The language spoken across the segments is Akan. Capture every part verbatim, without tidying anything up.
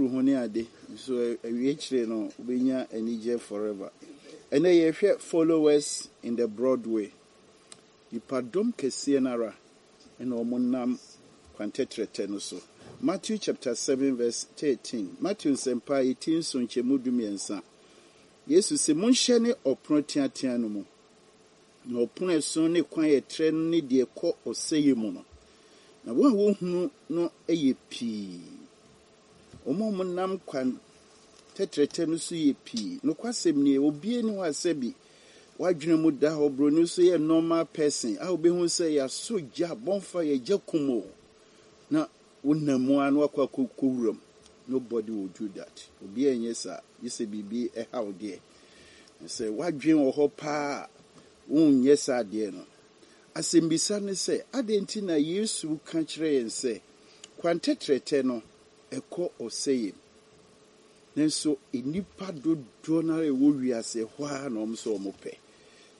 ho ne ade nso awie kyerɛ no wobɛnya anigye forever. Ɛnɛ yɛhwɛ followers in the Broadway. Nipadɔm kɛseɛ no ara ɛna wɔn nam kwan tɛtrɛtɛ no so. Matthew chapter seven verse thirteen. Matthew nsɛmpa a ti nson nkyɛmu du mmiɛnsa. Yesu sɛ monhyɛ ne ɔpono teatea no mu. Na ɔpono ɛso ne kwan ɛtrɛ no ne deɛ ɛkɔ ɔsɛeɛ mu no. Na wɔn a wɔhunu no yɛ pii. Wɔn a wɔnam kwan tɛtrɛtɛ no so yɛ pii. Nokwasɛm nie, obiara ni hɔ a sɛbi wadwene mu da hɔ buroni nso yɛ normal person a wobɛhu sɛ yɛasɔ gya bonfire yɛgya kum o na wonam mu a na wakɔ akɔkɔ wuram. Nobody will do that. Obiara nyɛ saa gye sɛ biribi ɛha wo deɛ. Sɛ wadwene wɔ hɔ paa wonyɛ saa adeɛ no. Asɛmbisa ne sɛ, adɛn nti na Yesu ka kyerɛ yɛn sɛ kwan tɛtrɛtɛ no ɛkɔ ɔsɛeɛ mu? Nanso nnipa dodoɔ no ara a ɛwɔ wiase ɛhɔ ara na wɔn nso wɔn pɛ.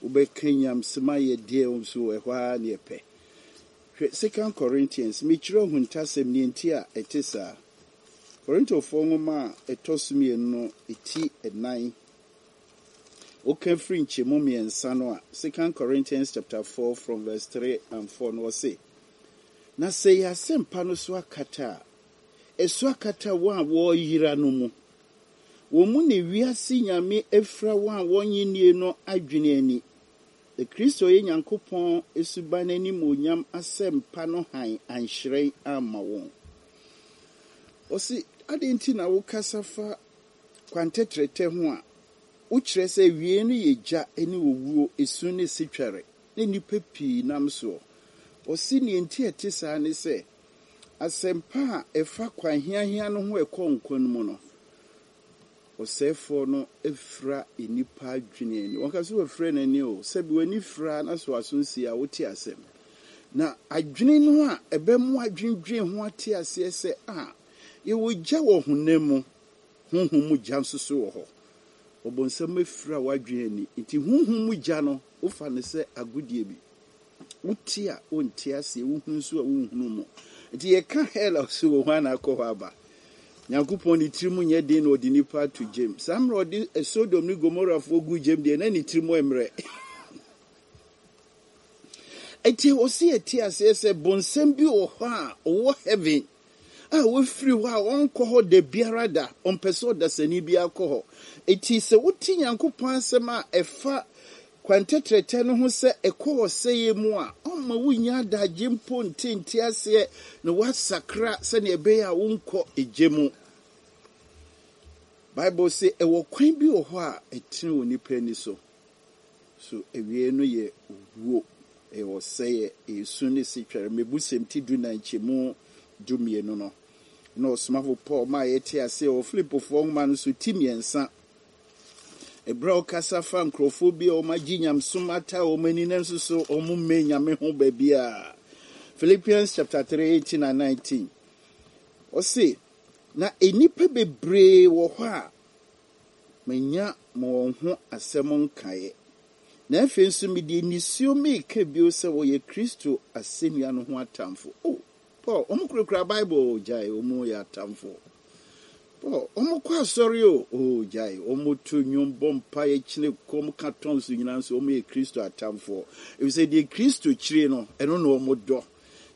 Wobɛka nyamsɛm ayɛ deɛ nso ɛhɔ ara na yɛpɛ. Hwɛ Second Corinthians, mekyerɛ ohuntasɛm ne nti a ɛte saa. Korintofoɔ nwoma a ɛtɔ so mmienu no ti ɛnan. Woka firi nkyɛmu mmiɛnsa no a, Second Corinthians chapter four from verse three and four no ɔse, na sɛ yɛ asɛmpa no so akata a, ɛso akata wɔn a wɔreyera no mu. Wɔn mu na wiase nyame afira wɔn a wɔnnye nnie no adwene ani. Na Kristo yɛ Nyankopɔn suban animuonyam asɛmpa no hann anhyerɛn amma wɔn. Ɔse, adɛn nti na wokasa fa kwan tɛtrɛtɛ ho a, wokyerɛ sɛ awie no yɛ gya ne owuo, esu ne sitware, ne nnipa pii nam soɔ. Ɔse nea nti a ɛte saa ne sɛ, asɛmpa a ɛfa kwan hiahia no ho ɛkɔ nkwa no mu no, ɔsɛefoɔ no afira nnipa adwene ani. Wɔka sɛ wɔafira n'ani o, sɛbi w'ani fira na so aso nsi a wote asɛm. Na adwene no a ɛbɛmo adwendwen ho ate aseɛ sɛ a yɛwɔ gya wɔ honam mu, honhom mu gya nso so wɔ hɔ. Ɔbɔnsam afira w'adwene ani. Nti honhom mu gya no, wofa no sɛ agodie bi. Wote a wonte aseɛ, wohunu nso a wonhunu mu. Nti yɛka hell a ɔsɛ wɔ hɔ ana akɔ hɔ aba. Nyankopɔn ne tirim nyɛ den na ɔde nipa ato gyem. Saa mmerɛ ɔde Sodom ne Gomorafoɔ gu gyem deɛ na ne tirim mmerɛ. Enti ɔsi yɛte aseɛ sɛ bonsam bi wɔ hɔ a ɔwɔ heaven a wafiri hɔ a ɔnkɔ hɔ da biara da, ɔmpɛ sɛ ɔdasani bi akɔ hɔ. Enti sɛ wote Nyankopɔn asɛm a ɛfa kwan tɛtrɛtɛ no ho sɛ ɛkɔ ɔsɛeɛ mu a, ɔmma wonya adagye mpo ntente aseɛ na woasakra sɛnea ɛbɛyɛ a wonkɔ egye mu. Bible sɛ ɛwɔ kwan bi wɔ hɔ a ɛtene wɔ nipa ani so. So awie no yɛ owuo, ɛyɛ ɔsɛeɛ, ɛyɛ su ne setwɛre. Mebusɛm ti du nan nkyɛmu du mmienu no. Na ɔsomafo Paul maa yɛte aseɛ wɔ Filipofoɔ nwoma no so ti mmiɛnsa. Ɛberɛ a ɔkasa fa nkurɔfoɔ bi a wɔn agye nyamsom ata wɔn ani nanso so wɔn mmɛ nyame ho baabi a. Philippians chapter three eighteen and nineteen. Ɔse, na nnipa bebree wɔ hɔ a manya mo wɔn ho asɛm nkaeɛ. Na afei nso mede nisuo meeka bio sɛ wɔyɛ Kristo asɛnnua no ho atamfo. Oh, Paul, wɔn kurakura Bible gyae, wɔn yɛ atamfo. Paul, wɔn kɔ asɔre o, oh gyae, wɔn to nnwom bɔ mpaeɛ kyene kɔm ka tɔn so nyinaa nso wɔn yɛ Kristo atamfoɔ. Efisɛ deɛ Kristo kyerɛ no, ɛno na wɔn dɔ.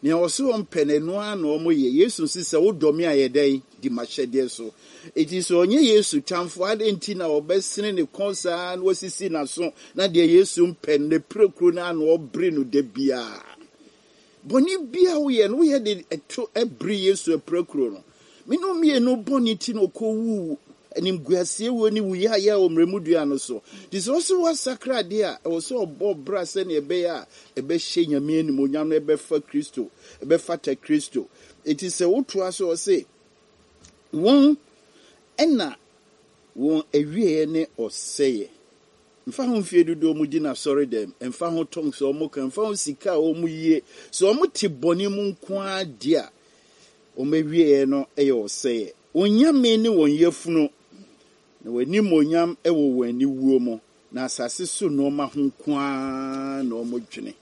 Nea ɔsɛ wɔn pɛ no, ɛno ara na wɔn yɛ. Yesu nso sɛ wodɔ me a yɛ dɛn? Di m'ahyɛdeɛ so. Eti sɛ ɔnyɛ Yesu tamfo, adɛn nti na ɔbɛsene ne kɔn saa na wasisi n'aso na deɛ Yesu mpɛ no, ne pirekuro no ano ɔbere no da biara. Bɔne bi a woyɛ no, woyɛ de ɛto ɛbere Yesu apirakuro no. Me ne mmienu bɔne ti na ɔkɔwu animguaseɛ wuo ne wuyayɛ a wɔ mmerɛmu dua no so. Nti sɛ ɔsɛ woasakra adeɛ a, ɛwɔ sɛ ɔbɔ bra sɛnea ɛbɛyɛ a ɛbɛhyɛ Nyame animuonyam na ɛbɛfa Kristo, ɛbɛfata Kristo. Enti sɛ wotoa so ɔse, wɔn ɛna wɔn awieeɛ ne ɔsɛeɛ. Mfa ho mfie dodoɔ mu di n'asɔre dɛm, mfa ho tɔn sɛ ɔmo ka, mfa ho sika a ɔmo yie, sɛ ɔmo te bɔne mu nko ara di a, wɔn awieeɛ no yɛ ɔsɛeɛ. Wɔn nyame ne wɔn yafunu, na wɔn animuonyam wɔ wɔn aniwuo mu, na asase so nneɛma ho nko ara na wɔn dwene.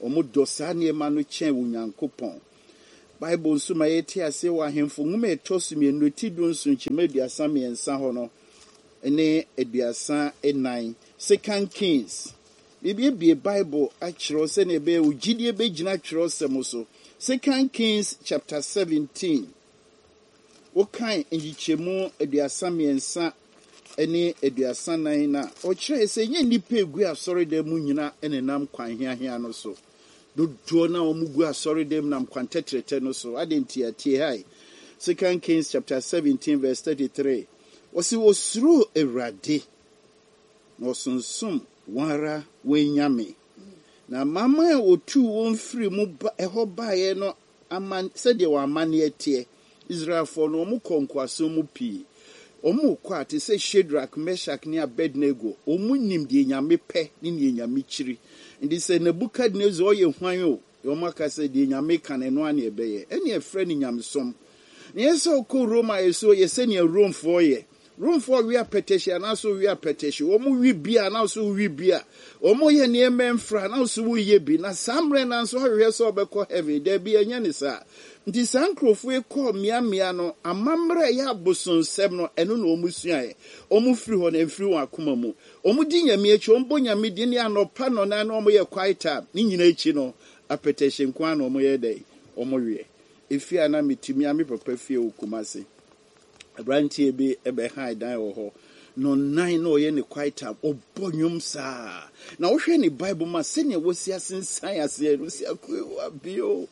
Wɔn dɔ saa nneɛma no kyɛn Onyankopɔn. Bible nso ma yɛte aseɛ wɔ Ahemfo nwoma a ɛtɔ so mmienu ti du nson nkyɛmu aduasa mmiɛnsa hɔ no ne aduasa nnan. Second Kings. Biribiebie Bible akyerɛw sɛnea ɛbɛyɛ wo gyidie bɛgyina twerɛsɛm so. Second Kings chapter seventeen. Wokan nkyekyɛmu aduasa mmiɛnsa ne aduasa nan na ɔkyerɛ sɛ nyɛ nnipa egu asɔredan mu nyinaa nenam kwan hiahia no so. Dodoɔ na wɔn gu asɔredan mu nam kwan tɛtrɛtɛ no so. Ade nti atie ha yi. Second Kings chapter seventeen verse thirty-three. Wɔsi osuro Awurade na ɔsonsom wɔn ara wɔn nyame. Na amanaman a otuu wɔn firi mu ba ɛhɔ baeɛ no aman sɛdeɛ wɔn amanneɛ teɛ. Israelfoɔ no wɔn kɔ nkoasom mu pii. Wɔn kɔ a te sɛ Shadrach, Meshach ne Abednego. Wɔn nim deɛ Nyame pɛ ne deɛ Nyame kyiri. Nti sɛ Nebukadnezar ɔyɛ hwan o, wɔn aka sɛ deɛ Nyame ka no ɛno ara na ɛbɛyɛ. Ɛne ɛfrɛ no nyamesom. Na yɛn sɛ ɔkɔ Rome a yɛsɛ yɛ sɛnea Romefoɔ yɛ. Romefoɔ wi apɛtɛhye anaasɛ wi apɛtɛhye. Wɔn wi bia anaasɛ wi bia. Wɔn yɛ nneɛma mfra anaasɛ wɔyɛ bi. Na saa mmerɛ no nso ahwehwɛ sɛ ɔbɛkɔ heaven. Daabi ɛnyɛ ne saa. Nti saa nkurɔfoɔ yi kɔɔ mmeammea no, amammerɛ a ɛyɛ abosonsɛm no, ɛno na wɔn suaeɛ. Wɔn firi hɔ na ɛmfiri wɔn akoma mu. Wɔn di Nyame akyi, wɔn bɔ Nyame din ne anɔpa nnɔnan na wɔn yɛ quiet time. Ne nyinaa akyi no, apɛtɛhye nko ara na wɔn yɛ dɛ, wɔn weɛ. Efie a na metumi a me papa fie wɔ Kumasi. Aberanteɛ bi bɛhan dan wɔ hɔ. Nɔnan na ɔyɛ ne quiet time, ɔbɔ nnwom saa. Na wohwɛ ne Bible ma sɛnea wɔsi asensan aseɛ no, si akoe bio.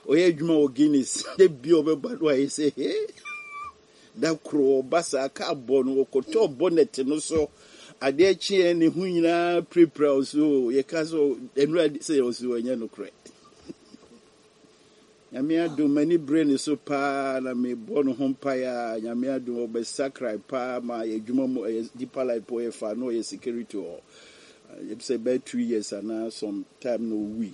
Ɔyɛ adwuma wɔ Guinness. De bio ɔbɛba no ayɛ sɛ he. Da koro ɔba saa kaa bɔ no, ɔkɔtɔɔ bonnet no so. Adeɛ kyeɛ ne ho nyinaa pirapira wo so. Yɛka sɛ ɛnura sɛ ɔsi ɔnyɛ nokorɛ. Nyame adom m'ani bere ne so paa na mebɔ no ho mpaeɛ a Nyame adom ɔbɛsakra paa ma yɛ adwuma mu ɛyɛ Deeper Life po yɛ fa na ɔyɛ security hɔ. Sɛ bɛyɛ two years anaa some time na owui.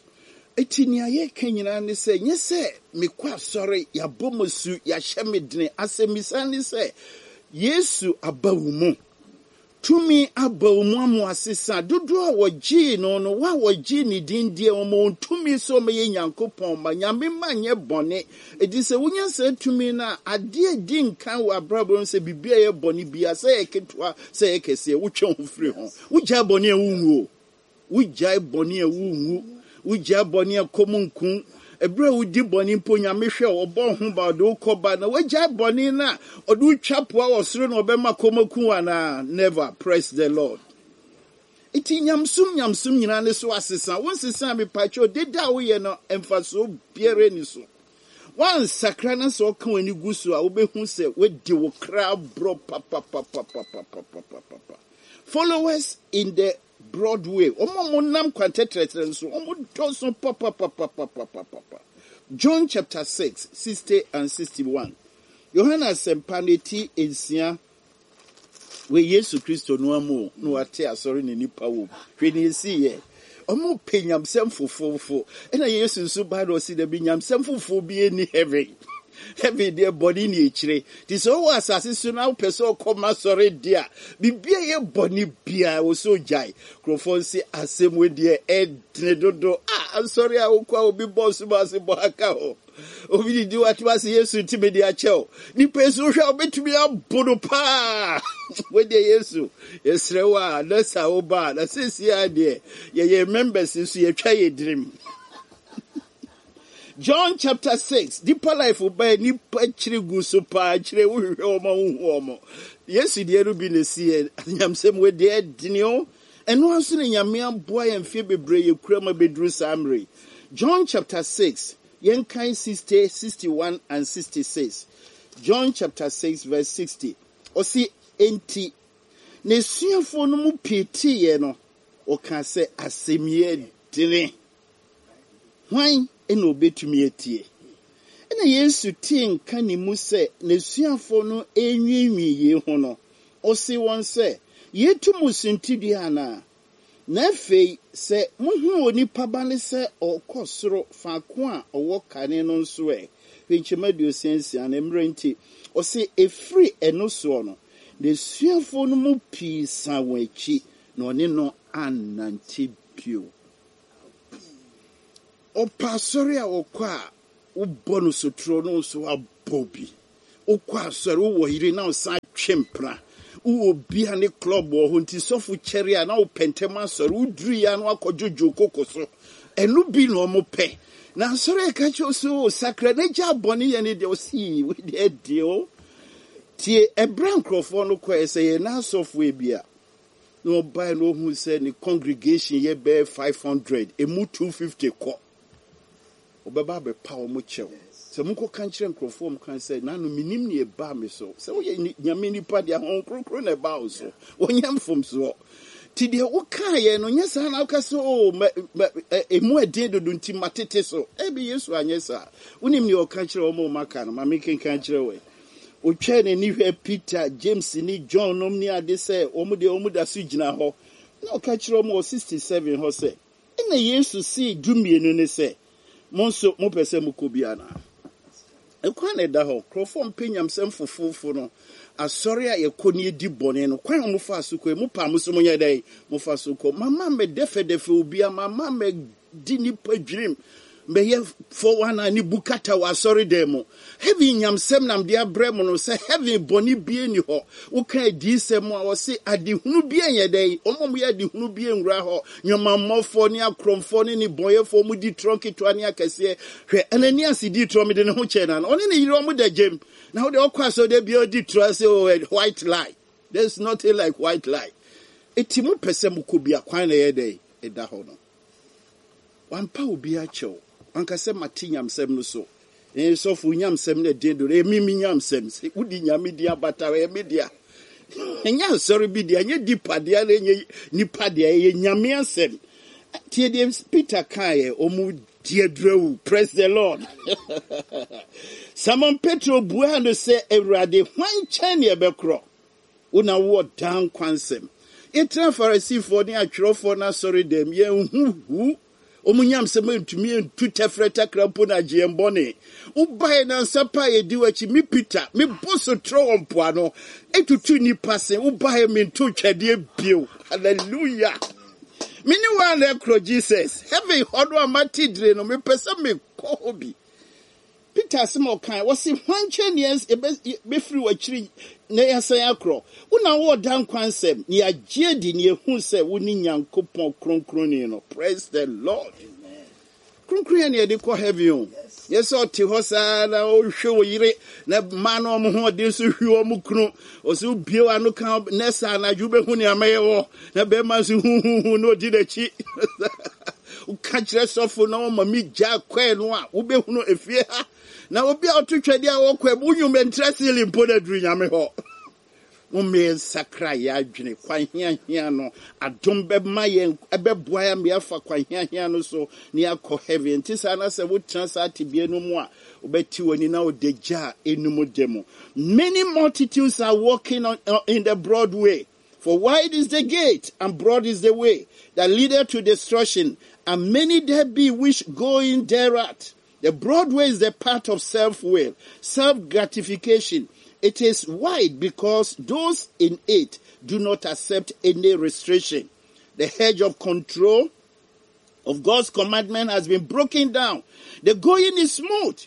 Eti nea yɛka nyinaa ne sɛ nyɛ sɛ mekɔ asɔre yɛabɔ mo su yɛahyɛ me dene. Asɛmmisa ne sɛ Yesu aba wo mu. Tumi aba wo mu ama asesa. Dodoɔ a wɔgyee no no, wɔn a wɔgyee ne din deɛ, wɔn wɔn tumi sɛ wɔyɛ Nyankopɔn ma. Nyame ma nyɛ bɔne. Eti sɛ wonya saa tumi no a, adeɛ di nkan wɔ abrabɔ mu sɛ biribi a ɛyɛ bɔne biara, sɛ ɛyɛ ketewa, sɛ ɛyɛ kɛseɛ, wotwe ho firi ho. Wogyae bɔne a wonwu o. Wogyae bɔne a wonwu. Wogyae bɔne a kɔm nku. Ɛberɛ a wodi bɔne mpo, Nyame hwɛ wo, ɔbɔ ho ba, ɔde wo kɔ ba. Na wagyae bɔne no a, ɔde wo twa poa wɔ soro na ɔbɛma kɔm aku wo anaa? Never. Praise the Lord. Enti nyamsom nyamsom nyinaa ne so asesa. Wo nsesa a mepakyɛw, deda a woyɛ no, mfasoɔ biara ni so. Wansakra na sɛ ɔka w'ani gu so a, wobɛhu sɛ woadi wo kra borɔ papapapapapapapapa. Followers in the Broadway. Wɔn a wɔnam kwan tɛtrɛtɛrɛ nso, wɔn dɔɔso papapapapapapa. John chapter six, sixty and sixty-one. Yohana asɛmpa no ti nsia wɔ Yesu Kristo no amu na wate asɔre ne nipa wɔ mu. Hwɛ ne esi yɛ. Wɔn pɛ nyamsɛm fofofo. Ɛna Yesu nso ba na ɔsi dɛbi nyamsɛm fofo bi ni heaven. Heaven deɛ bɔne ne akyire. Te sɛ ɔwɔ asase so na wopɛ sɛ ɔkɔ ma sɔre deɛ a, biribi a ɛyɛ bɔne biara wɔ so gyae. Nkurɔfoɔ nse asɛm wɔ deɛ ɛdene dodo. A asɔre a wokɔ a obi bɔ so ma ase bɔ aka hɔ. Obi didi watoma ase Yesu ntumi de akyɛ wo. Nipa yi so wohwɛ a wobɛtumi abo no paa. Wɔ deɛ Yesu, yɛsrɛ wo a, na sa wo ba a, na seesie a deɛ, yɛyɛ members nso yɛtwa yɛ dirim. John chapter six, Deeper Life ba nipa kyerɛ gu so paa, kyerɛ wo hwehwɛ wɔn a wohu wɔn. Yesu deɛ no bi na esi yɛ, nyamsɛm wɔ deɛ ɛdene o. Ɛno nso na Nyame aboa yɛn mfeɛ bebree yɛ kura ma bɛduru saa mmerɛ yi. John chapter six, yɛnkan sixty, sixty-one and sixty-six. John chapter six verse sixty. Ɔsi enti, n'asuafoɔ no mu pii teeɛ no, ɔka sɛ asɛm yi dene. Hwan na obetumi atie? Ɛna Yesu tee nka ne mu sɛ n'asuafoɔ no enwiinwii yei ho no, ɔse wɔn sɛ, yɛtu mo suntidua anaa? Na afei, sɛ muhu onipa ba ne sɛ ɔkɔ soro faako a ɔwɔ kane no nso ɛ, hwɛ nkyɛmu aduosia nsia na mmerɛ nti, ɔse efiri ɛno soɔ no, n'asuafoɔ no mu pii san wɔn akyi na ɔne no annante bio. Ɔpa asɔre a ɔkɔ a, Wobɔ no sotoro no nso abɔ bi. Wokɔ asɔre, wowɔ yere na wosan twe mpena. Wowɔ bia ne club wɔ hɔ nti sɔfo kyɛre a na wopɛ ntɛm asɔre. Woduru ya na wakɔdwodwo koko so. Ɛno bi na ɔmo pɛ. Na asɔre ɛka kyerɛ wo sɛ o sakra na gya bɔne yɛ ne deɛ ɔsi wei deɛ deɛ o. Tie ɛberɛ nkurɔfoɔ no kɔɛ sɛ yɛn n'asɔfoɔ bi a na ɔbae na ohun sɛ ne congregation yɛ bɛyɛ five hundred emu two fifty kɔ ɔbɛba abɛpa wɔn kyɛw sɛ mokɔka nkyerɛ nkurɔfoɔ mu kan sɛ nanu minim ne ɛbaa me so sɛ woyɛ nyame nipa deɛ ahɔn kronkron na ɛbaa wo so wɔnyɛ mfomsoɔ nti deɛ wokaeɛ no nyɛ saa na woka sɛ o ɛmu ɛden dodo nti matete so ɛbi yesu anyɛ saa wonim deɛ ɔka kyerɛ wɔn a ɔmaka no ma mekenka kyerɛ wɔ otwa n'ani hwɛ peter james ne john nom ne ade sɛ wɔn deɛ wɔn da so gyina hɔ na ɔka kyerɛ wɔn wɔ sixty seven hɔ sɛ ɛna yesu sii dumienu ne sɛ mo nso mopɛ sɛ mokɔ bi anaa ɛkwan na ɛda hɔ nkurɔfoɔ mpɛ nyamsɛm fofofo no asɔre a yɛkɔ ne yɛdi bɔne no kwan a mofa so kɔ yi mo pa mo so monyɛ dɛn mofa so kɔ mama mɛdɛfɛdɛfɛ obi a mama mɛdi nipa dwirim bɛyɛ four one nine ne bu kata wɔ asɔre dan mu heaven nyamsɛm nam de abrɛ mu no sɛ heaven bɔne bie ni hɔ woka adiisɛm a wɔse adehunu bie nyɛ dɛn wɔn a wɔyɛ adehunu bie nwura hɔ nnwamammɔfoɔ ne akorɔmfoɔ ne ne bɔnyɛfoɔ mu di torɔ nketewa ne akɛseɛ hwɛ ananias di torɔ mede ne ho kyɛn na ɔne ne yere ɔmo da gyem na wode ɔkɔ asɔre da bia ɔdi torɔ sɛ oh, white lie there is nothing like white lie eti mo pɛ sɛ mokɔ bi a kwan na ɛyɛ dɛn ɛda hɔ no wampa obi akyɛw wanka sɛ mate nyamsɛm no so ɛɛ sɔfo nyamsɛm no ɛden do ɛmi mi nyamsɛm sɛ wodi nyame di abata ɛyɛ mi dea ɛnyɛ asɔre bi dea ɛnyɛ dipa dea na ɛnyɛ nipa dea ɛyɛ nyame asɛm tie deɛ peter kaeɛ ɔmo di adurawu praise the lord simon petro buaa no sɛ awurade hwan nkyɛn ne ɛbɛkorɔ wo na wowɔ daa nkwa nsɛm yɛtena farisifoɔ ne atwerɛfoɔ no asɔre dɛm yɛnhu hu ɔmu nyamsɛm ntumi ntu tɛfrɛ takra mpo na agye yɛn bɔne wobae nansa pa a yɛdi w'akyi me peter mebɔ so trɛ wɔ mpoano ɛtutu nnipa se wobae mento twɛdeɛ bio hallelujah me ne wo ana ɛkorɔ jesus heaven hɔ no a mate dire no mepɛ sɛ mekɔ hɔ bi peter asɛm a ɔkae wɔse hwan nkyɛn ne yɛbɛfiri w'akyiri na yɛasan akorɔ wo na wowɔ da nkwa nsɛm ne yɛagye adi ne yɛhu sɛ wo ne nyankopɔn kronkronni no praise the lord kronkron yɛ ne yɛde kɔ heaven o yɛ sɛ ɔte hɔ saa na ɔhwɛ wɔ yere na mmaa no ɔmo ho ɔden nso hwi ɔmo kunu ɔsɛ obie w'ano ka nɛɛsa anadwo wobɛhu nea mɛyɛ wɔ na bɛrima nso huhuhu na ɔdi n'akyi woka kyerɛ sɔfo na ɔma mi gya kɔɛ no a wobɛhunu efie ha na obi a ɔto twɛdeɛ a wɔkɔ mu wonwom ntrɛ sili mpo na aduru nyame hɔ mommɛ nsakra yɛ adwene kwan hiahia no adom bɛma yɛn ɛbɛboa yɛn ma yɛafa kwan hiahia no so na yɛakɔ heaven nti saa na sɛ wotena saa tebea no mu a wobɛte w'ani na wode gya a ɛnum da mu many multitudes are walking on, uh, in the broad way for wide is the gate and broad is the way that leadeth to destruction and many there be which go in thereat the broad way is the path of self-will self-gratification it is wide because those in it do not accept any restriction. The hedge of control of God's commandment has been broken down. The going is smooth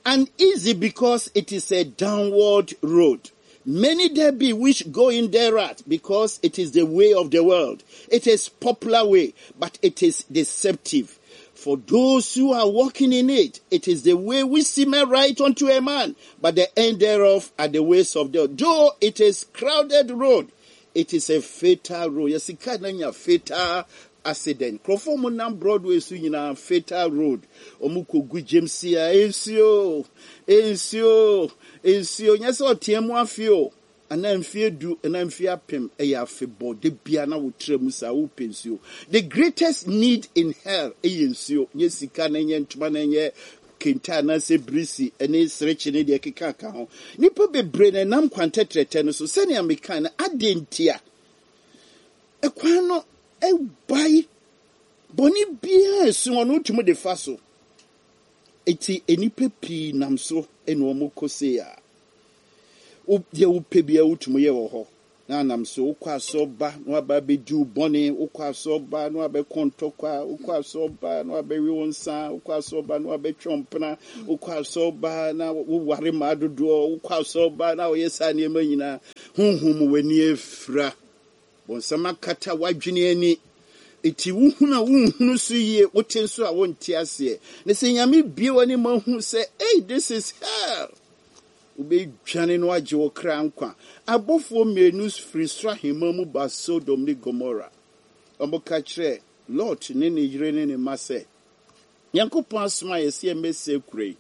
and easy because it is a downward road. Many there be which go in thereat because it is the way of the world. It is popular way, but it is deceptive. For those who are walking in it, it is the way which seemeth right unto a man, but the end thereof are the ways of death. Though it is crowded road, it is a fatal road. Yes, it can a fatal accident. Nkurɔfoɔ mu nam Broadway so nyinaa fatal road. Ɔmo kɔ James a nsuo, nsuo, nsuo. Nyɛ sɛ ɔteɛ mu afe o. Anaa mfie du, anaa mfie apem ɛyɛ afebɔ. De bia na wotira mu saa wopɛ nsuo. The greatest need in hell ɛyɛ nsuo. Nyɛ sika na nyɛ ntoma na nyɛ kente anaasɛ birisi ne serekye ne deɛ keka ka ho. Nipa bebree na ɛnam kwan tɛtrɛtɛ no so sɛnea meka no ade ntia. Ɛkwan no ɛbae bɔne biara esu hɔ no wotumi de fa so. Eti nnipa pii nam so ɛna wɔn kɔ se a deɛ wopɛ biara wotumi yɛ wɔ hɔ. Na anam so wokɔ asɔre ba na waba abɛdi wo bɔne, wokɔ asɔre ba na wabɛkɔ ntɔkwa, wokɔ asɔre ba na wabɛwe wo nsa, wokɔ asɔre ba na wabɛtwe mpena, wokɔ asɔre ba na woware mmaa dodoɔ, wokɔ asɔre ba na woyɛ saa nneɛma nyinaa. Honhom w'ani afira. Bɔnsam akata w'adwene ani. Eti wohunu a wonhunu so yie, wote nso a wonte aseɛ. Na sɛ Nyame bie w'ani ma hu sɛ, "Hey, this is hell," wobɛdwane no agye wo kra nkwa. Abɔfoɔ mmienu firi soro ahemma mu ba Sodom ne Gomora. Ɔmoka kyerɛ Lot ne ne yere ne ne mma sɛ, Nyankopɔn asoma yɛ sɛ yɛmmɛsɛe kuro yi.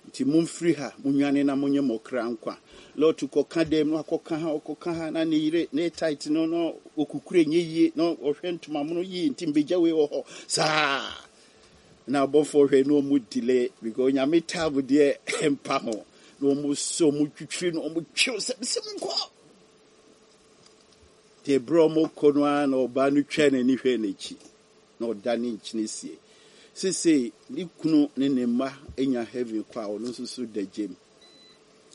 Nti momfiri ha, monwane na monyɛ mo kra nkwa. Lot kɔka dɛm na wakɔka ha, ɔkɔka ha na ne yere ne tight no na okukure nyɛ yie na ɔhwɛ ntomamono yie nti mbɛgya wei wɔ hɔ saa. Na abɔfoɔ hwɛ na ɔmo delay because Nyame taabo deɛ mpa ho. Na ɔmo sɛ ɔmo twitwiri na ɔmo twew sɛ sɛ monkɔ. Deɛ berɛ ɔmo kɔ no ara na ɔbaa no twɛ n'ani hwɛ n'akyi na ɔda ne nkyene sie. Sesei ne kunu ne ne mma anya heaven kɔ a, ɔno nso so da gyem.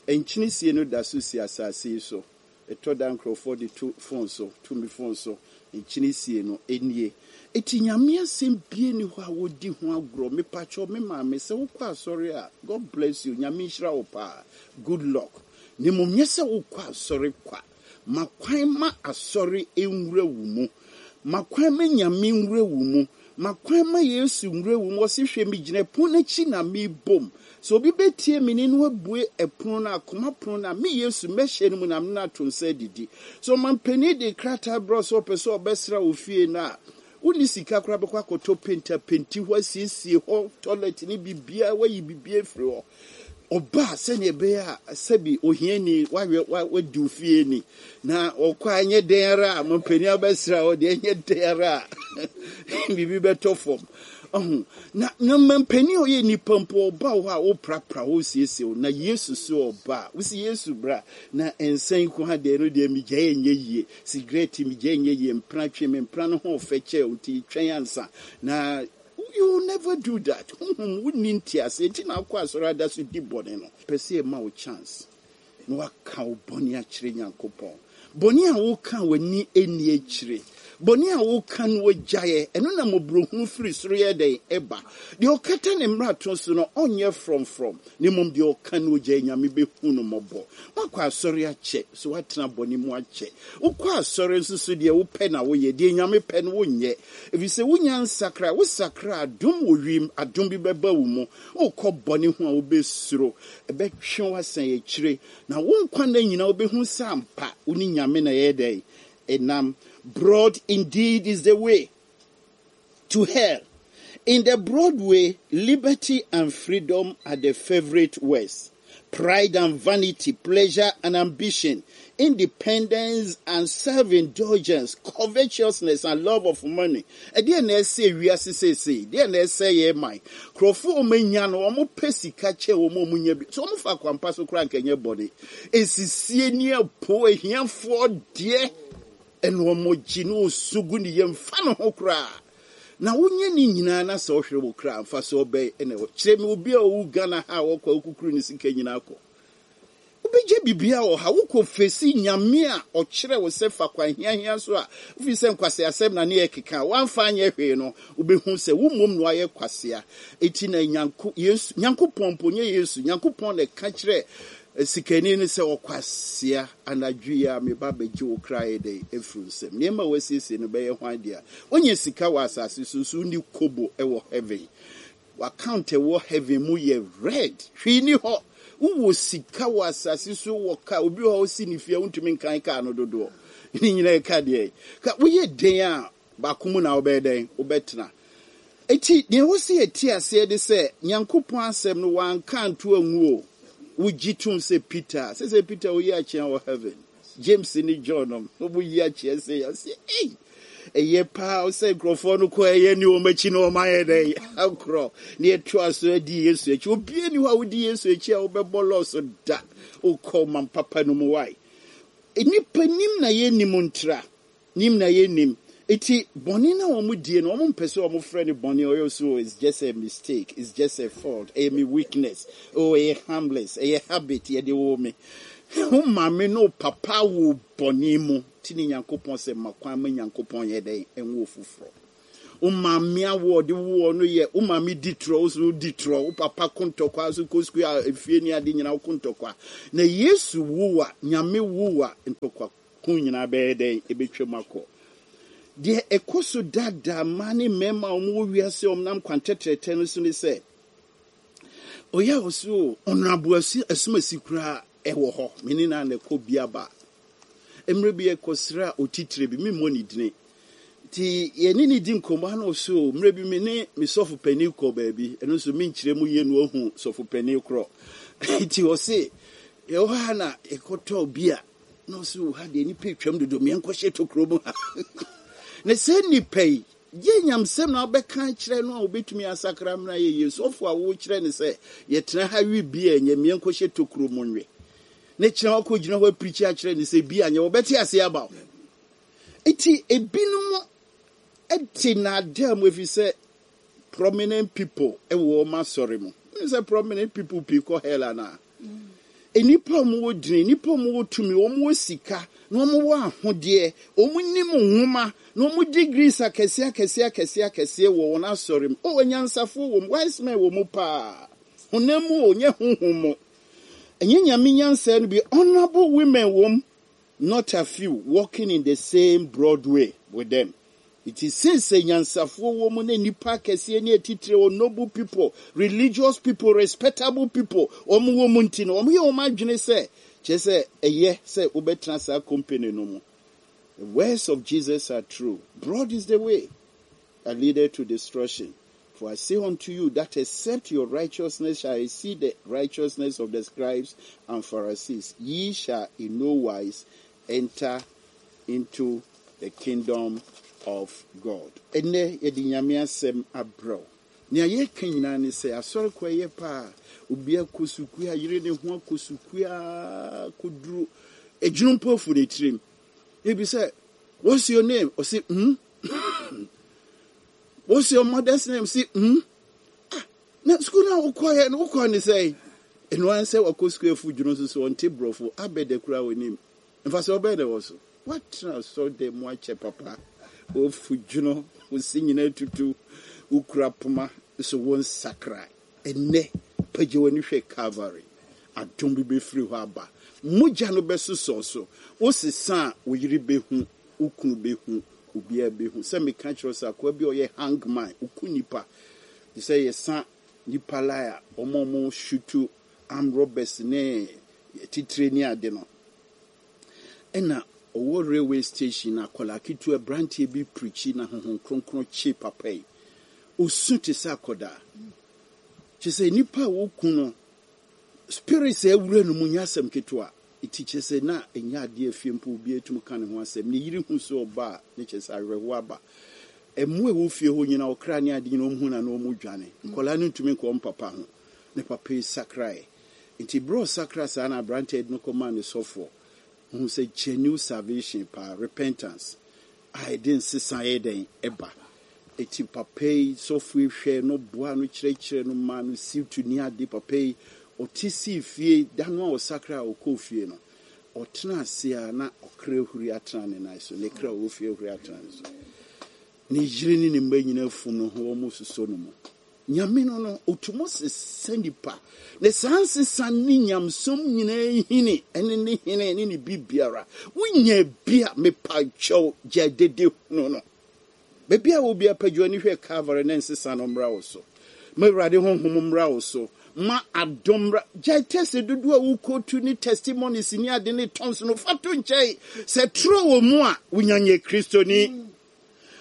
Nkyene sie no da so si asase yi so. Ɛtɔ da nkurɔfoɔ de to phone so, to mi phone so. Nkyene sie no nie. Eti Nyame asɛm bie ni hɔ a wodi ho agorɔ. Mepakyɛw, me maame, sɛ wokɔ asɔre a, God bless you, Nyame nhyira wo paa, good luck. Na mmom nyɛ sɛ wokɔ asɔre kwa. Ma kwan ma asɔre nwura wo mu. Ma kwan ma Nyame nwura wo mu. Ma kwan ma Yesu nwura wo mu. Ɔse, "Hwɛ, megyina ɛpono n'akyi na mebom. Sɛ obi bɛtie me ne no abue ɛpono no, akoma pono no a, me Yesu mɛhyɛ no mu na mene no ato nsa adidi." Sɛ ɔmampanin de krataa brɛ sɛ ɔpɛ sɛ ɔbɛsra wo fie no a, wonni sika koraa bɛkɔ akɔtɔ paint apenti hɔ, asiesie hɔ, toilet ne biribiara, wayi biribiara afiri hɔ. Ɔbaa sɛnea ɛbɛyɛ a sɛbi ohiani wahwɛ wadi wo fie ni na ɔkɔ a, ɛnyɛ den ara a mampanin abɛsra hɔ deɛ, ɛnyɛ den ara a biribi bɛtɔ fam. Ɔho na na mampanin a ɔyɛ nipa mpo ɔba wɔ hɔ a, woprapra hɔ, siesie wo. Na Yesu so ɔba a, wosi Yesu bra na nsa nko ha deɛ no deɛ megyae nyɛ yie, sigaret megyae nyɛ yie, mpena twe me mpena no ho ɔfɛ kyɛ nti twɛn ansa na you will never do that. Honhom wonni ntease nti na akɔ asɔre ada so di bɔne no. Pɛ sɛ ɛma wo chance na waka wo bɔne akyerɛ Nyankopɔn. Bɔne a woka w'ani ani akyire, bɔne a woka no wagyaeɛ, ɛno na mmɔborɔhunu firi soro yɛ dɛn ɛba. Deɛ ɔkata ne mmarato so no ɔnyɛ frɔmfrɔm, na mmom deɛ ɔka no ogyae, Nyame bɛhu no mmɔbɔ. Woakɔ asɔre akyɛ so, woatena bɔne mu akyɛ. Wokɔ asɔre nso so deɛ wopɛ na woyɛ, deɛ Nyame pɛ no wonyɛ, ɛfiri sɛ wonya nsakra. Wosakra, adom wɔ wiem, adom bi bɛba wo mu. Wokɔ bɔne ho a, wobɛsuro, ɛbɛtwe wo asan akyire, na wo nkwa nna nyinaa wobɛhu sɛ ampa wo ne Nyame na ɛyɛ dɛn ɛnam. Broad indeed is the way to hell. In the broad way, liberty and freedom are the favorite words. Pride and vanity, pleasure and ambition, independence and self-indulgence, covetousness and love of money. Ɛdeɛ na ɛsɛ wiase seesei, deɛ na ɛsɛ yɛ man. Nkurɔfoɔ a wɔanya no, wɔn pɛ sika kyɛ wɔn a wɔnya bi. So wɔn fa kwampa so koraa nkɛnyɛ bɔne. Esisie ne ɛpo ahiafoɔ deɛ ɛna wɔn gye ne osu gu ne yam fa ne ho koraa. Na wonyɛ ne nyinaa na sɛ ɔhwere wo kra mfa so ɔbɛn ɛna ɛwɔ. Kyerɛ me obi a ɔwu Ghana ha a wɔkɔ akukuru ne sika nyinaa kɔ. Wobɛgye biribiara wɔ ha, wokɔ fesi Nyame a ɔkyerɛ wo sɛ fa kwan hiahia so a wofiri sɛ nkwaseasɛm na ne yɛ keka a woamfa anyɛ hwee no, wobɛhu sɛ wo mmom no ayɛ kwasea. Enti na Nyanko, Yesu, Nyankopɔn mpo nyɛ Yesu, Nyankopɔn na ɛka kyerɛ eh, sikani no sɛ, "Ɔkwasea, anadwo yi a meba bɛgye wo kra yɛ dɛn afiri nsɛm. Nneɛma a wasiesie no bɛyɛ hwan dea?" Wonyɛ sika wɔ asase so nso wonni kobo wɔ heaven. W'account ɛwɔ heaven mu yɛ red, hwee ni hɔ. Wowɔ sika wɔ asase so, wɔ kaa, obi wɔ hɔ si ne fie a wontumi nkan kaa no dodoɔ ne nyinaa ɛka deɛ ka woyɛ den a baako mu na wobɛyɛ dɛn wobɛtena. Eti deɛ ɛwɔ sɛ yɛte aseɛ de sɛ Nyankopɔn asɛm no wanka anto angu o. Wogye tom sɛ Peter sɛ sɛ Peter woyi akyea wɔ heaven, James ne John nom wɔyi akyea sɛ yɛsɛ ei, ɛyɛ paa sɛ nkurɔfoɔ no kɔ ɛyɛ ne wɔn akyi na wɔn ayɛ dɛn akorɔ ne yɛtoa so adi Yesu akyi. Obie ni hɔ a wodi Yesu akyi a wobɛbɔ lɔɔso da. Wokɔ man papa no mu wae. Nnipa nim na yɛnim ntra nim na yɛnim. Eti bɔne na wɔn die no, wɔn mpɛ sɛ wɔn frɛ no bɔne. Ɔyɛ so, it's just a mistake, it's just a fault, ɛyɛ me weakness, oh, ɛyɛ harmless, ɛyɛ habit, yɛde wɔ me. Wo maame ne wo papa wo bɔne mu ti ne Nyankopɔn sɛ ma kwan ma Nyankopɔn yɛ dɛn? Ɛnwo foforɔ. Wo maame awo ɔde woɔ no yɛ wo maame di torɔ, wo so di torɔ, wo papa ko ntɔkwa so kɔ sukuu a efie ne ade nyinaa ko ntɔkwa. Na Yesu wo a, Nyame wo a, ntɔkwa ko nyinaa bɛyɛ dɛn? Ɛbɛtwam akɔ. Deɛ ɛkɔ so daadaa mmaa ne mmarima a wɔwɔ wiase a wɔnam kwan tɛtrɛtɛ no so ne sɛ, ɔyɛ a ɔso ɔnrabo asumasi koraa ɛwɔ hɔ. Me ne na na ɛkɔ bi aba. Mmerɛ bi ɛkɔsra otitire bi, memmɔ ne dini. Nti yɛne ne di nkɔmmɔ ano so, mmerɛ bi me ne me sɔfo panin kɔ baabi, ɛno nso menkyerɛ mu yie no ahu sɔfo panin korɔ. Nti ɔse, yɛwɔ ha na yɛkɔtɔɔ bi a, na ɔse, ha deɛ nipa atwam dodo, meɛnkɔhyɛ tokuro mu ha. Na sɛ nipa yi, gye nyamsɛm na wobɛka kyerɛ no a wobɛtumi asakra mmra yɛ yie. Sɔfo a wokyerɛ ne sɛ yɛtena ha wi bi a ɛnyɛ, meɛnkɔhyɛ tokuro mu nwe. Ne kyerɛ hɔ kɔgyina hɔ apirikyi akyerɛ ne sɛ bi anyɛ, wɔbɛte ase aba wo. Nti ebinom te naadaa mu ɛfiri sɛ prominent people ɛwɔ wɔn asɔre mu. Wonim sɛ prominent people pii kɔ hell anaa? Nnipa a wɔwɔ dini, nnipa a wɔwɔ tumi, wɔwɔ sika, na wɔwɔ ahodeɛ, wɔn nim nwoma, na wɔn degrees akɛseɛ akɛseɛ akɛseɛ akɛseɛ wɔ wɔn asɔre mu. O, anyansafoɔ wɔ mu, wise men wɔ mu paa. Honam mu o, nyɛ honhom mu. Ɛnyɛ Nyame nyansa no bi, honourable women wɔ mu, not a few, walking in the same broad way with them. It is since nyansafoɔ wɔ mu ne nnipa akɛseɛ ne atitire wɔ noble people, religious people, respectable people, wɔn wɔ mu nti no, wɔn yɛ wɔn adwene sɛ, kyerɛ sɛ ɛyɛ sɛ wobɛtena saa company no mu. The words of Jesus are true. Broad is the way that leadeth to destruction. For I say unto you that except your righteousness shall exceed the righteousness of the scribes and Pharisees, ye shall in no wise enter into the kingdom of God. Ɛnɛ yɛde Nyame asɛm abrɛ wo. Nea yɛka nyinaa ne sɛ asɔre kɔ ɛyɛ paa. Obi akɔ sukuu a yere ne ho akɔ sukuu a kɔduru edwunu mpo afu ne tirim. Ebi sɛ, "What's your name?" Ɔse, hmm? "What's your mother's name?" Say, hmm? Ah, na sukuu na wokɔɛ no, wokɔ ne sɛ ɛno ara sɛ wakɔ sukuu afu dwunu nso so ɔnte borɔfo abɛdɛ koraa wɔ mfa sɛ ɔbɛyɛ dɛ wɔ so watena asɔre mu akyɛ papa wofu dwono wosi nyinaa tutu wokura poma so wo nsakra. Ɛnɛ pagya w'ani hwɛ Calvary, adom bi bɛfiri hɔ aba, mogya no bɛsosɔ so, wosesa a wo yere bɛhu, wo kunu bɛhu, obiara bɛhu sɛ meka kyerɛ sɛ akoa bi a ɔyɛ hangman, oku nipa te sɛ yɛsa nipa lai a ɔmo ɔmo shoot armed robbers ne titire ne ade no, ɛna ɔwɔ railway station na akwadaa ketewa aberanteɛ bi pirikyi na Honhom Kronkron kye papa yi, osu te sɛ akwadaa, kyerɛ sɛ nipa a woku no spirit sɛ awura no mu nyɛ asɛm ketewa. Eti kyerɛ sɛ na ɛnyɛ adeɛ afie mpo obi atum ka ne ho asɛm. Ne yere hu so ɔba a, ne kyerɛ sɛ awerɛhoɔ aba. Ɛmo a ɛwɔ fie hɔ nyinaa, ɔkra ne ade nyinaa, ɔmo hu na na ɔmo dwane. Nkɔlaa no ntumi nkɔ ɔmo papa ho. Ne papa yi sakrae. Nti berɛ a ɔsakra saa na aberanteɛ no kɔmaa ne sɔfoɔ hu sɛ genuine salvation paa, repentance a ɛde nsesa yɛ dɛn ɛba. Eti papa yi sɔfo yi hwɛ no, boa no, kyerɛkyerɛ no, maa no situ ne ade. Papa yi ɔte sii fie da no a ɔsakra a ɔkɔɔ fie no, ɔtena ase a na ɔkra huri atena ne nan so, ne kra ɔwɔ fie huri atena ne so. Ne yere ne ne mma nyinaa fum no ho, wɔn sosɔ no mu. Nyame no no otum sesa nipa na saa nsesa ne nyamsom nyinaa hini ɛne ne hene ne ne bibiara. Wonya bi a, mepa kyɛw, gya dede hunu no. Baabi a obi apagya ani hwɛ Calvary ne nsesa no mmra wo so. Ma Awurade honhom mmra wo so, ma adom mmra. Gyae test dodoɔ a wokɔtu ne testimonies ne ade ne tɔns no fa to nkyɛn. Sɛ toro wɔ mu a, wonya nyɛ Kristoni.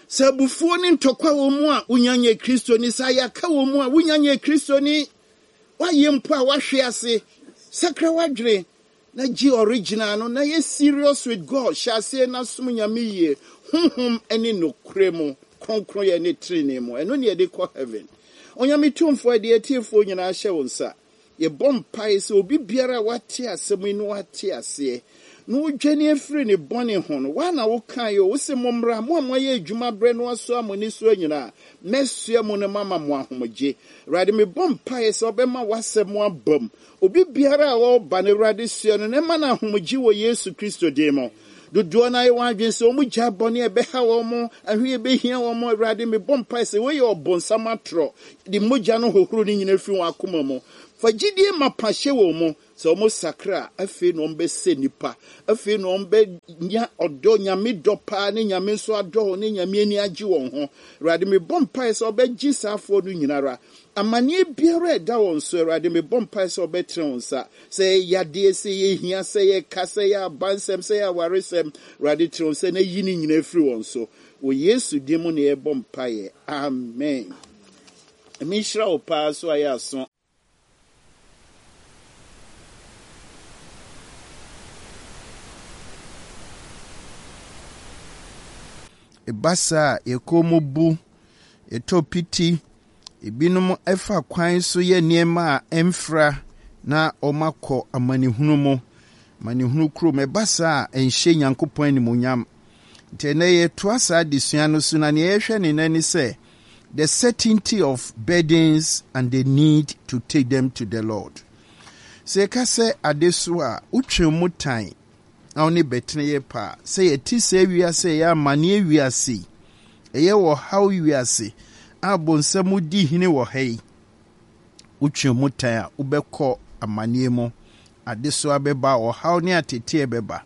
Sɛ abufuo ne ntɔkwa wɔ mu a, wonya nyɛ Kristoni. Sɛ ayaka wɔ mu a, wonya nyɛ Kristoni. Woayɛ mpo a woahwe ase, sakra w'adwene na gye original no na yɛ serious with God. Hyɛ aseɛ na som Nyame yie, honhom ne nokorɛ mu, kronkroyɛ ne tenenee mu. Ɛno ne yɛde kɔ heaven. Onyame tumfoɔ, ɛde atiefoɔ nyinaa hyɛ wo nsa. Yɛbɔ mpae sɛ obi biara a wate asɛm yi na wate aseɛ na wodwane afiri ne bɔne ho no, woa na wokaeɛ o, wose mommra, mo a moayɛ adwuma berɛ no asoa mo nnesoa nyinaa, mɛsoa mu no mama mo ahomegye. Awurade, mebɔ mpaeɛ sɛ wobɛma w'asɛm aba mu. Obi biara a ɔreba no, Awurade, soa no na ɛma no ahomegye wɔ Yesu Kristo din mu. Dodoɔ no ayɛ wɔn adwene sɛ wɔn gya bɔne a ɛbɛha wɔn, ahwe ɛbɛhia wɔn. Awurade, mebɔ mpaeɛ sɛ wɔyɛ ɔbonsam atorɔ de mogya no hohoro no nyinaa firi wɔn akoma mu. Fa gyidie mapa hyɛ wɔn mu sɛ wɔn sakra a, afei na wɔn bɛsɛ nipa, afei na wɔn bɛnya ɔdɔ, Nyame dɔ paa, ne Nyame nso adɔ wɔn, ne Nyame ani agye wɔn ho. Awurade, mebɔ mpaeɛ sɛ wɔbɛgye saa afoɔ no nyinara. Amanneɛ biara a ɛda wɔn so, Awurade, mebɔ mpaeɛ sɛ wɔbɛtene wɔn nsa. Sɛ ɛyɛ yadeɛ, sɛ ɛyɛ hia, sɛ ɛyɛ ka, sɛ ɛyɛ abansɛm, sɛ ɛyɛ awaresɛm, Awurade, tene wɔn nsa na yi ne nyinaa firi wɔn so. Wɔ Yesu din mu na yɛbɔ mpaeɛ. Amen. Menhyira wo paa so ayɛ aso. Ɛba saa a, yɛn mu bu, yɛtɔ piti, ebinom ɛfa kwan so yɛ nneɛma a ɛmfra na wɔakɔ amanehunu mu, amanehunu kurom. Ɛba saa a, ɛnhyɛ Nyankopɔn animuonyam. Nti ɛnnɛ yɛtoa saa adesua no so, na nea yɛhwɛ ne nnɛ ne sɛ, the certainty of burdens and the need to take them to the Lord. Sɛ yɛka sɛ adesoa a, wotwe mu tan na wo ne bɛtene yɛ paa. Sɛ yɛte sɛ wiase a ɛyɛ amanneɛ wiase yi, ɛyɛ ɔhaw wiase a bonsam di hene wɔ ha yi, wotwe mu tan a, wobɛkɔ amanneɛ mu. Adesoa bɛba, ɔhaw ne ateteɛ bɛba.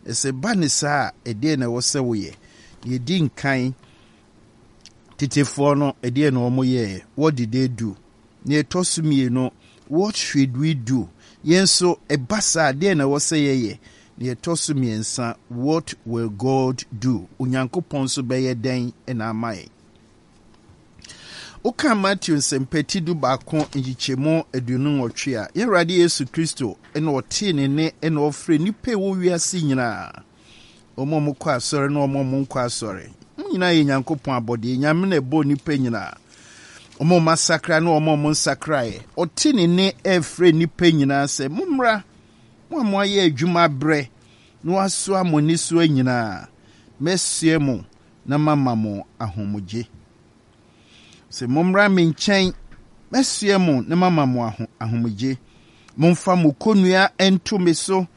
Sɛ ba ne saa a, ɛdeɛn na ɛwɔ sɛ woyɛ? Yɛdi nkan, tetefoɔ no, ɛdeɛn na wɔn yɛɛ? What did they do? Nea ɛtɔ so mmienu, what should we do? Yɛn nso, ɛba saa, ɛdeɛn na ɛwɔ sɛ yɛyɛ? Nea ɛtɔ so mmiɛnsa, what will God do? Onyankopɔn nso bɛyɛ dɛn na ama yɛn? Woka Matthew nsɛmpati du baako nkyekyɛmu aduonu nwɔtwe a, yɛn Awurade Yesu Kristo na ɔtee ne nne na ɔfrɛ nnipa a ɛwɔ wiase nyinaa. Wɔn a wɔkɔ asɔre ne wɔn a wɔnkɔ asɔre. Wɔn nyinaa yɛ Nyankopɔn abɔdeɛ. Nyame na ɛbɔɔ nnipa nyinaa. Wɔn a wɔasakra ne wɔn a wɔnsakraeɛ. Ɔte ne nne ɛrefrɛ nnipa nyinaa sɛ, mommra, mo a moayɛ adwuma abrɛ na wɔasoa mo nnesoa nyinaa, mɛsoɛ mo na mama mo ahomegye. Sɛ mommra me nkyɛn, mɛsoɛ mo na mama mo ahomegye. Momfa mo kɔnnua nto me so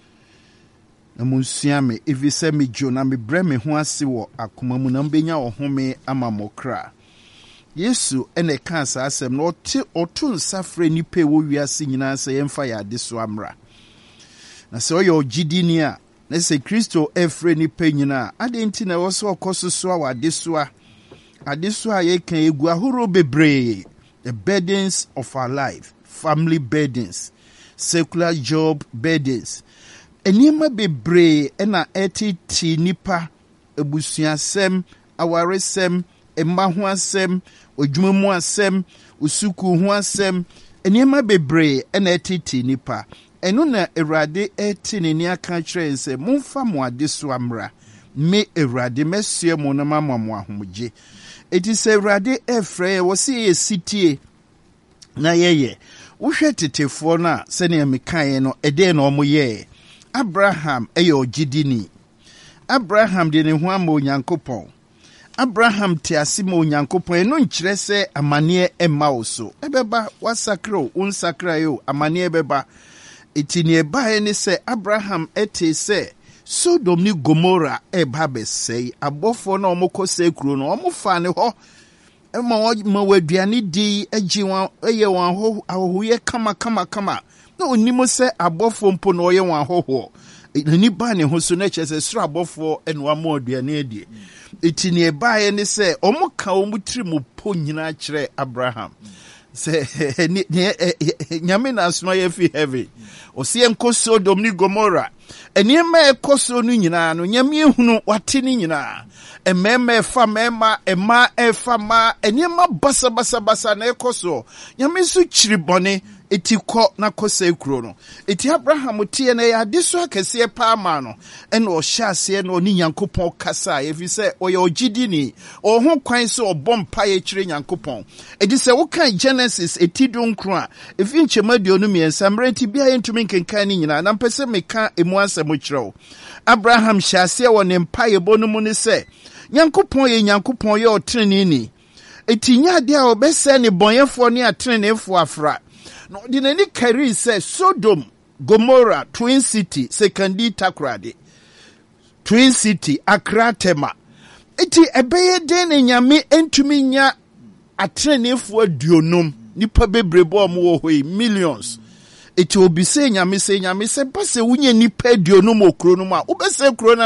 na monsua me, ɛfiri sɛ medwo na mebrɛ me ho ase wɔ akoma mu, na mobɛnya ɔhome ama mo kra. Yesu na ɛkaa saa asɛm no, ɔte ɔto nsa frɛ nnipa a ɛwɔ wiase nyinaa sɛ yɛmfa yɛn adesoa mmra. Na sɛ ɔyɛ ɔgyidini a, na sɛ Kristo ɛfrɛ nnipa nyinaa a, adɛn nti na ɛwɔ sɛ ɔkɔ so soa wɔ adesoa? Adesoa a yɛka egu ahorow bebree, the burdens of our life, family burdens, secular job burdens. Nneɛma bebree na ɛtete nnipa, abusuasɛm, awaresɛm, mma ho asɛm, adwuma mu asɛm, sukuu ho asɛm, nneɛma bebree na ɛtete nnipa. Ɛno na Awurade ɛte n'ani aka kyerɛ yɛn sɛ, momfa mo adesoa mmra. Me Awurade mɛsoɛ mo na mama mo ahomegye. Enti sɛ Awurade ɛfrɛ yɛn, wɔ sɛ yɛyɛ sitie na yɛyɛ. Wohwɛ tetefoɔ no a, sɛnea mekaeɛ no, ɛdeɛn na wɔn yɛɛ? Abraham ɛyɛ ɔgyidini. Abraham de ne ho ama Onyankopɔn. Abraham te ase ma Onyankopɔn. Ɛno nkyerɛ sɛ amanneɛ mma wo so. Ɛbɛba, woasakra o, wonsakrae o, amanneɛ bɛba. Enti nea ɛbaeɛ ne sɛ Abraham tee sɛ Sodom ne Gomora ɛreba abɛsɛe. Abɔfoɔ no a wɔkɔsɛe kuro no, wɔfaa ne hɔ ma wɔma wɔn aduane di, gye wɔn, yɛ wɔn ahɔhoyɛ kama kama kama. Na onim sɛ abɔfoɔ mpo na ɔyɛ wɔn ahɔhoɔ. N'ani baa ne ho so na kyerɛ sɛ soro abɔfoɔ na wɔama aduane adie. Eti nea ɛbaeɛ ne sɛ wɔka wɔn tiri mu po nyinaa kyerɛ Abraham sɛ Nyame na asoma yɛ fi heaven. Ɔsɛ yɛnkɔ Sodom ne Gomora. Nneɛma a ɛkɔ so no nyinaa no, Nyame ehunu, wate ne nyinaa. Mmarima ɛfa mmarima, mmaa ɛfa mmaa, nneɛma basabasabasa na ɛkɔ so. Nyame nso kyiri bɔne. Eti kɔ na kɔsɛe kuro no. Eti Abraham teɛ no, ɛyɛ adesoa kɛseɛ paa maa no. Ɛna ɔhyɛ aseɛ na ɔne Nyankopɔn kasaeɛ, ɛfiri sɛ ɔyɛ ɔgyidini. Ɔwɔ ho kwan sɛ ɔbɔ mpaeɛ kyerɛ Nyankopɔn. Enti sɛ wokan Genesis eti dunkron a, ɛfiri nkyɛmu aduonu mmiɛnsa, mmerɛ nti biara yɛntumi nkenkan ne nyinaa, na mpɛ sɛ meka emu asɛm kyerɛ wo. Abraham hyɛ aseɛ wɔ ne mpaeɛbɔ no mu ne sɛ, Nyankopɔn yɛ Nyankopɔn, ɔyɛ ɔteneneeni. Enti nyɛ adeɛ a ɔbɛsɛe nnebɔneyɛfoɔ ne ateneneefoɔ afra. Na ɔde n'ani karii sɛ Sodom, Gomora, Twin City, Sekandi, Takoradi, Twin City, Accra, Tema. Enti ɛbɛyɛ dɛn na Nyame ntumi nya ateneneefoɔ aduonum, nnipa bebrebe a wɔwɔ hɔ yi, millions? Enti obisee Nyame sɛ, Nyame, sɛ ɛba sɛ wonya nnipa aduonum wɔ kuro no mu a, wobɛsɛe kuro no